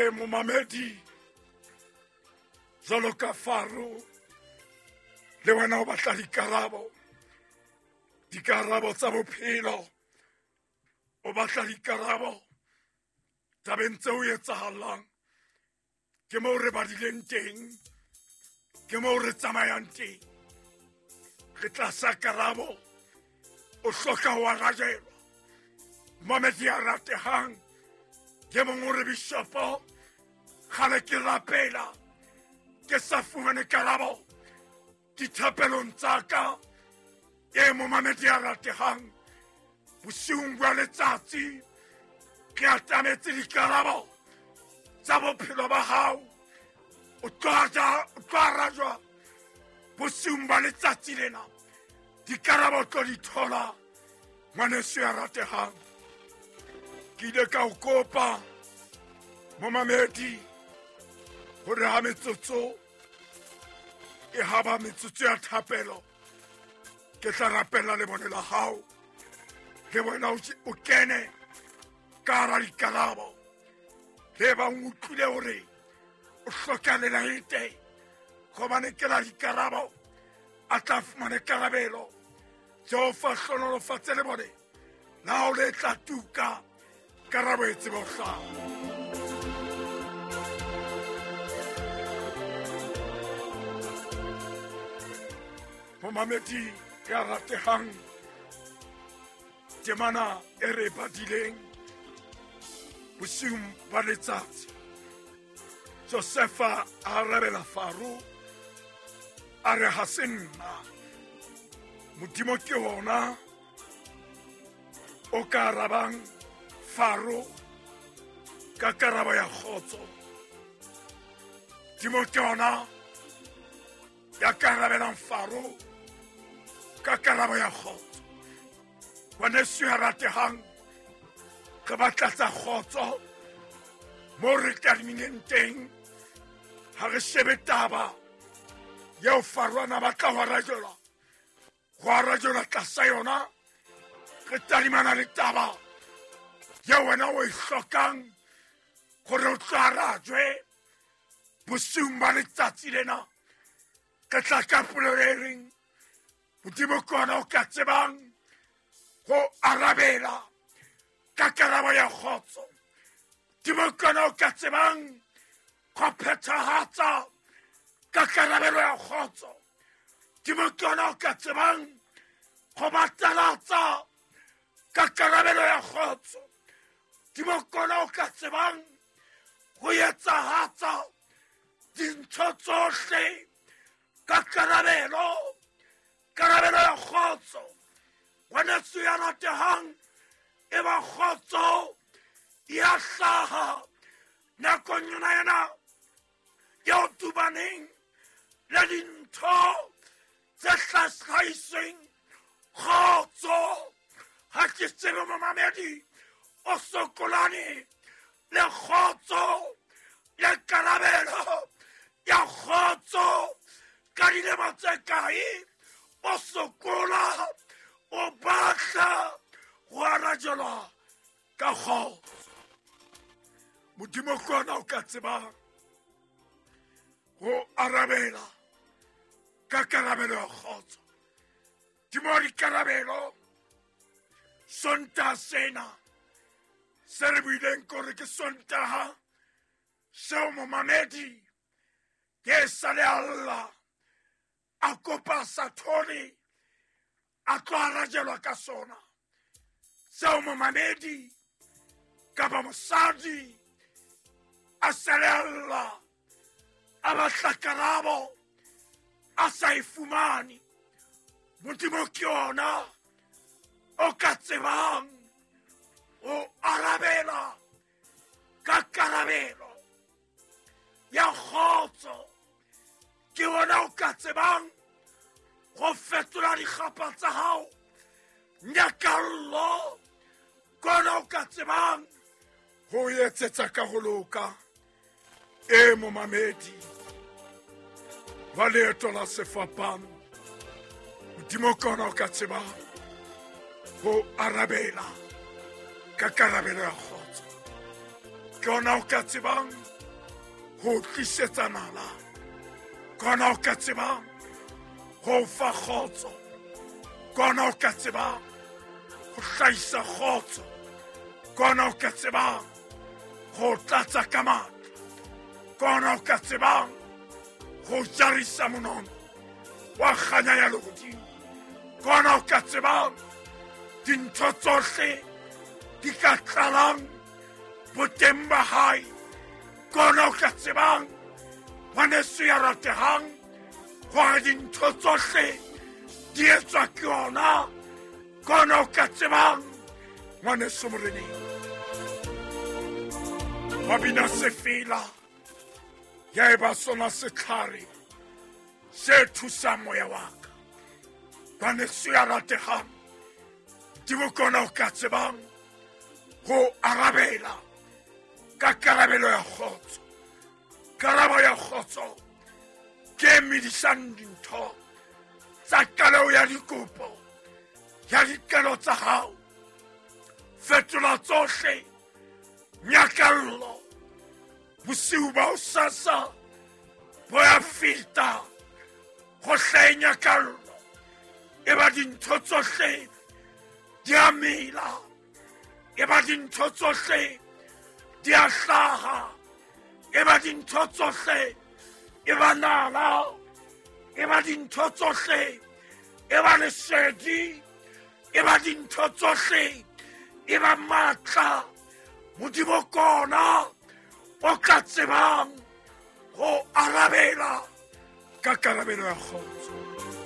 E momamedi, jwalo ka Faro, le wena o batla dikarabo, dikarabo tsa bophelo, o batla dikarabo tabeng tseo etsahalang. Ke moo re badileng teng, ke moo re tsamayang teng. Re tlasa karabo, o hloka ho arajelwa. Momedi ya ratehang, ke mong o re bishopo, kgale ke rapela, ke sa fumane karabo dithapelong tsa ka. E momamedi ya ratehang, bosiung bwa letsatsi ke atametse dikarabo tsa bophelo ba hao. O tlo arajwa bosiung ba letsatsi lena. Dikarabo tlo di thola, ngwaneso ya ratehang. Ke ile ka o kopa momamedi hore ha metsotso e haba metsotso ya thapelo, ke tla rapela lebone la hao, le wena o kene ka hara dikarabo. Le bang utlwile hore o hloka lelaete, gobane ke la dikarabo, a tla fumane karabelo. Jehova hlonolofatse le bone la hao le tla tuka, karabo e tsebe ho hlaha. Momamedi ya ratehang, temana e re badileng bosiung ba letsatsi, Josefa a arabela Faro a re, ha se nna, Modimo ke ona o ka arabang Faro ka karabo ya kgotso. Modimo ke ona ya ka arabelang Faro ka karabo ya kgotso. Ngwaneso ya ratehang, re batla tsa kgotso mo re tadimileng teng. Ha re shebe taba eo Faro a na batla ho arajelwa, ho arajelwa tlasa yona. Re tadimana le taba eo wena o e hlokang gore o tlo arajwe bosiung ba letsatsi lena. Ke tla ka polelo e reng Modimo ke ona o ka tsebang go arabela ka karabo ya kgotso. Modimo ke ona o ka tsebang go phethahatsa ka karabelo ya kgotso. Modimo ke ona o ka tsebang go batalatsa ka karabelo ya kgotso. Modimo ke ona o ka tsebang go etsahatsa dintho tsohle ka karabelo, karabelo ya kgotso. Ngwaneso ya ratehang, e ba kgotso ya hlaha nakong yona ena eo tubaneng le dintho tse hlahisweng kgotso. Ha ke tsebe momamedi o sokolane le kgotso le karabelo ya kgotso ka dilemo tse kae, o sokola o batla go arajelwa ka kgotso. Modimo ke ona o ka tsebang go arabela ka karabelo ya kgotso. Modimo wa dikarabelo, Sontaha sena se re buileng kore ke Sontaha seo momamedi ke sa le alla a kopa sathole a tlo arajelwa ka sona. Seo momamedi kapa mosadi a sa le alla a batla karabo a sa e fumane. Modimo ke ona o ka tsebang o arabela ka karabelo ya kgotso. Ke ona o ka tsebang go fetola dikgapa tsa hao nyakallo. Ke ona o ka tsebang ho etsetsa ka ho loka. E momamedi wa leeto la sefapano, Modimo ke ona o ka tsebang ho arabela ka karabelo ya kgotso. Ke ona o ka tsebang Ho tlisetsa nala, kona o ka tsebang ho fa kgotso, kona o ka tsebang ho hlahisa kgotso, kona o ka tsebang ho tlatsa ka matla, kona o ka tsebang ho jarisa monono wa kganya ya lehodimo, kona o ka tsebang dintho tsohle di ka tlalang boteng ba hae, kona o ka tsebang ngwaneso ya ratehang gore dintho tsohle di etswa ke yona, kona o ka tsebang ngwaneso moreneng. Wa bina sefela ya eba sona setlhare se thusang moya wa ka, ngwaneso ya ratehang, Modimo kona o ka tsebang ho arabela ka karabelo ya kgotso. Karabo ya kgotso ke e medisang dintho tsa qaleo ya dikopo ya dikelo tsa hao. Fetola tsohle nyakallo, bosiu ba hosasa bo ya feta, go hlahe nyakallo, e ba dintho tsohle di a mela, e ba dintho tsohle di a hlaha, e ba dintho tsohle e ba nala, e ba dintho tsohle e ba lesedi, e ba dintho tsohle e ba matla. Modimo kona o ka tsebang ho arabela ka karabelo ya kgotso.